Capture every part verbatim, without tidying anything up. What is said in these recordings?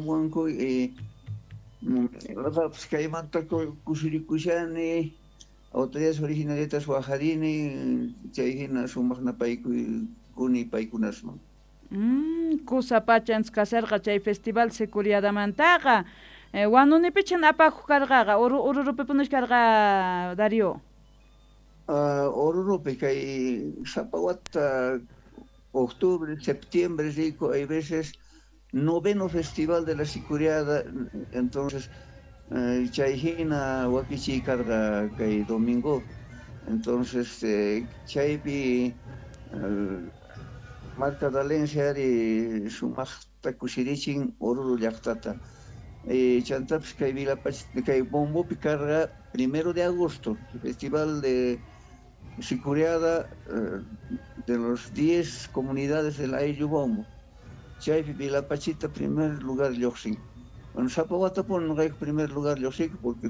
Wanku y noqapis kaymanta kusirikushani autoridades originarias wajarini chay hina sumaq napaykuni paykunasman. Mm, kusa pachans kasarqa chay festival Sicuriadamantaqa eh, wanunipichan apakuq karqaqa Orurupipunachu karqa Darío? Uh, Orurupi kay sapa wata octubre, septiembre rico, hay veces noveno festival de la Sicuriada, entonces eh, chay hina wakichiy karqa kay domingo, entonces eh, chaypi eh, marca Valencia ari sumaqta kusirichin Oruro llaqtata. Eh, chantapis kay Vilapach kay Bombopi karqa primero de agosto, festival de Sicuriada eh, de los diez comunidades del Ayllu Bombo. Chaypi Vilapachita primer lugar lluqsin. Bueno, sapa watapuni noqayku primer lugar lluqsiyku porque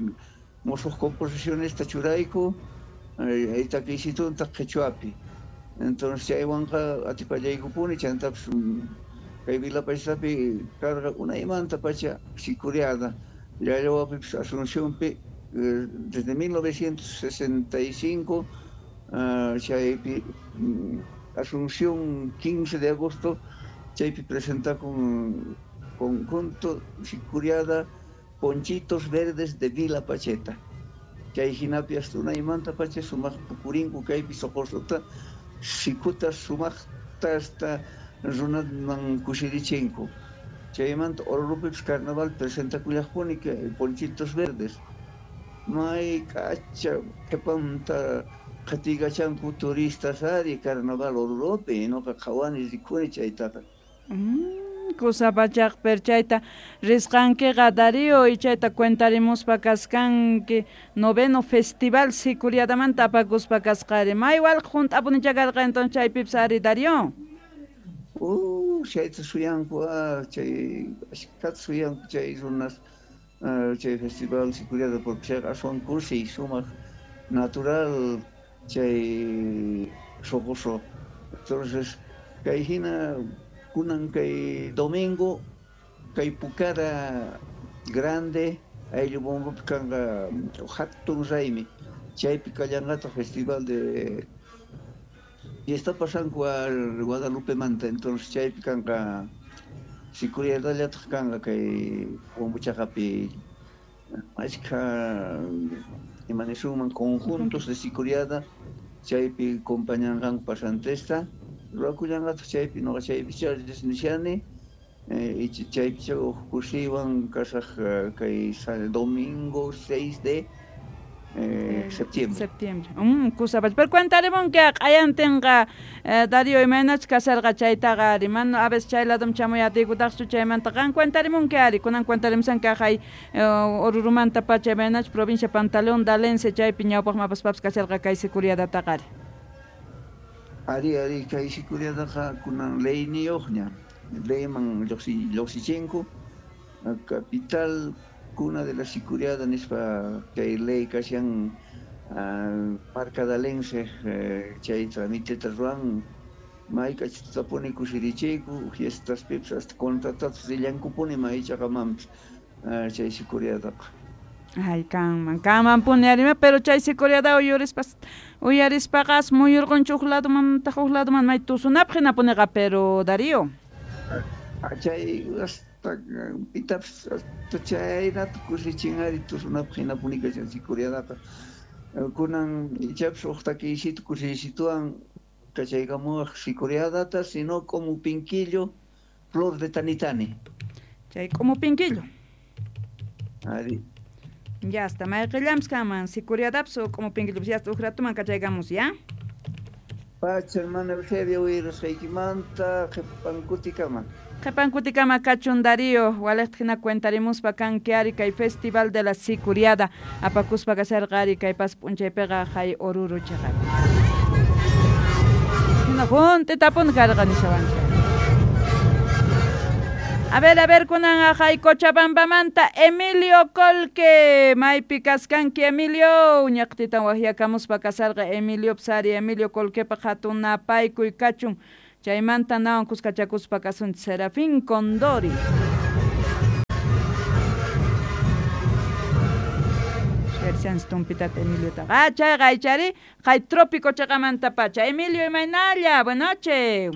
musuq composicionesta churayku eh, takiysitunta qhichwapi. Entonces chaywanqa atipallaykupuni chantapis kay Vilapachitapi karqa unaymanta pacha Sicuriada Llallawapipis Asuncionpi eh, desde mil novecientos sesenta y cinco uh, chaypi Asunción quince de agosto chaypi presenta con conjunto Sicuriada Ponchitos Verdes de Vila Pacheta. Chay hinapi hasta unaymanta pacha sumaq pukurinku kaypi soqosota sikuta sumaqta hasta runaman kusirichinku. Chaymanta Orurupipis carnaval presentakullaqpuni kay Ponchitos Verdes. May k'acha qhipanta qhatigachanku turistas ari carnaval Orurupi, noqa qhawani rikuni chaytaqa. Mm, kusa pachaq per chayta risqankiqa Darío y chayta cuentarimuspa kaskanki noveno festival Sicuriadamanta apakuspa kasqari may walqa hunt'apunicha karqa entonces chaypipis ari Darío. Uh, chayta suyanku ah, chay ashkhata suyanku chay runas uh, chay festival Sicuriada porque chayqa aswan kusiy sumaq natural chay soqoso. Entonces kay hina kunan kay domingo kay Pukara grande ayllu Bombopi kanqa hatun raymi chaypi kallanqataq festival de fiesta pasanku al Guadalupe manta, entonces chaypi kanqa Sicuriadallataq kanqa kay Bombochaqapi achkha imanisunman conjuntos de Sicuriada chaypi compañanqanku pasantesta ruwakullanqataq chaypi noqa chaypicha nishani eh, chaypicha uj kusiywan kasaq kay domingo seis de eh, septiembre. Septiembre. Mm, kusapach. Pero cuentarimunki q'ayantinqa eh, Darío imaynachus kasarqa chaytaqa ari mana a veces chay ladum chamuyatikutaqchu chaymanta qan cuentarimunki ari kunan cuentarimusanki aqhay eh, Orurumanta pacha imaynachus provincia Pantaleón Dalense chaypi ñawpaqman apaspapas kasarqa kay Sicuriadataqa ari. Ari ari kay Sicuriadaqa kunan leyniyuqña leyman lluqsichinku capital cuna de la Sicuriada nispa kay ley kashan uh, marca Dalense eh, chay tramiteta ruwan may k'achitapuni kusirichiyku fiestaspipis hasta contratatus rillankupuni maychaqamanpis uh, chay Sicuriadaqa. Ay, kanman, kanmanpuni arima, pero chay Sicuriada uyarispas uyarispaqa muyurqunchu huk ladumantaq huk laduman may tusunapaq hinapuniqa, pero Darío. Chay hasta pitapis hasta chaynata kusichin ari tusunapaq hinapuni kashan Sicuriadaqa. Kunan ichapis huk takiysito kusiysituwan kachaykamuwaq Sicuriadata, sino como pinquillo, flor de tanitani. Chay como pinquillo. Ari. Ya está, mayqillanpis kanman Sicuriadapis o como pinquillopis ya está huk ratuman kachaykamus, ya? Pacha, hermana Eusebia, uyrasqaykimanta qhipankutikama. Qhipankutikama kachun Darío, waliqta hina cuentarimuspa kanki ari kay festival de la Sicuriada apakuspa kasharqa ari kay pas p'unchaypiqa hay Oruro chaqapi. Hina hunt'itapuni karqa nishawanchik. A ver, a ver, kunan aqhay Cochabambamanta Emilio Colque, maypi kaskanki Emilio, ñaqtitan waqyakamuspa kasarqa Emilio psari Emilio Colquepa hatun napaykuy kachun, chaymanta nawan kuskachakuspa kasunchik Serafín Condori. Nishansi tumpitata Emiliotaqa. Ah, chayqa aychari kay trópico chaqamantapacha. Emilio, imaynalla, buenas noches.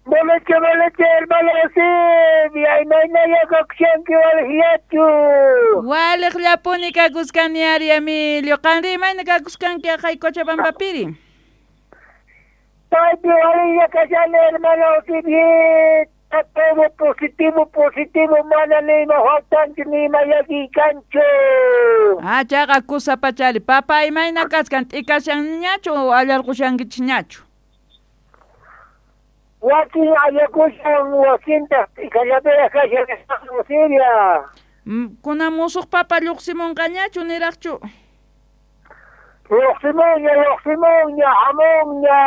Buenas noches, buenas noches, hermano Silvia, imaynalla kakushanki waliqllachu. Waliqllapuni kakuskani ari, Emilio. Qanri imayna kakuskanki kay Cochabambapiri? Paypi walilla kashani, hermano Silvia. Todo positivo, positivo, mana ni ima faltanchu ni ima llakiy kanchu. Ah, chayqa kusapachari. Papa, imayna kaskan t'ikashanñachu o allarqushankichikñachu? Wakin allakushan, wakintaq t'ikallapiraq kashan, hermano Silvia. Kunan musuq papa lluqsimunqañachu niraqchu? Lluqsimunña, lluqsimunña, hamunña,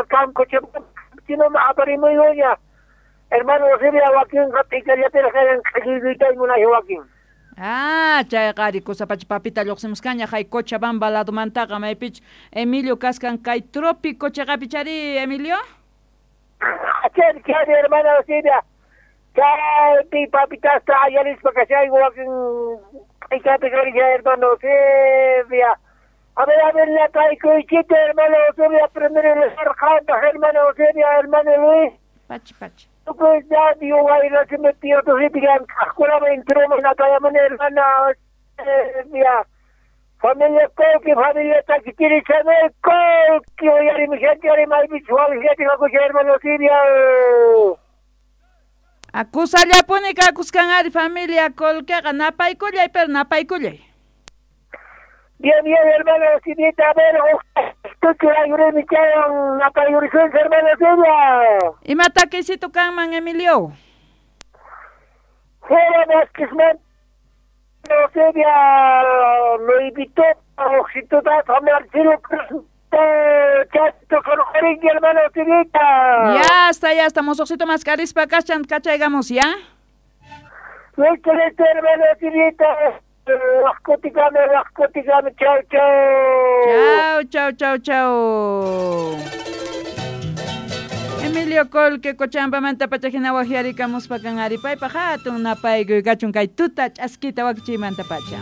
kankuchinaman aparimuyuña. Hermano Silvia, wakinqa t'ikallapiraq kashan, q'illuytay munay wakin. Ah, chayqa ari kusapacha papita lluqsimusqaña hay Cochabamba ladomantaqa maypich Emilio kaskan kay trópico chaqapi chari, Emilio? Chari, chari, hermano Silvia. Chaypi papitasta allarispa kashayku wakin t'ikapi karisha, hermano Silvia. A ver, a ver, la traikuychita, hermano Silvia, primero el sargento, hermano Silvia, hermano Luis. Pachi, pachi. Tukuy nadie wayra se metió tu ripigan escuela entró na tayamana hermana Silvia. Familia Colqui, familia Taquitiri Chanel Colqui, oyari mi gente, oyari maypi waliqllapi kakusha, hermano Silvia. Akusallapuni kakuskan ari familia Colqueqa, napaykullay, pero napaykullay. Bien, bien, hermano Silvita, a ver, tuchu ayurimi chayan, napayurisunchik, hermano Silvia. Ima takisito kanman, Emilio? Fuera Vázquez Silvia, lo invitó a Oxitota a Marcelo Chato con cariño, hermano Silvita. Ya está, ya estamos, Oxito Mascarispa, kachan, kachaygamos, ¿ya? Listo, listo, hermano Silvita. Rascoticame, rascoticame, chau, chau. Chau, chau, chau, chau. Emilio Colque, Cochabambamanta pachajina wajiarikamuspa kan ari paypaq hatun napaykuy kachun kay tuta ch'askita wakichiymanta pacha.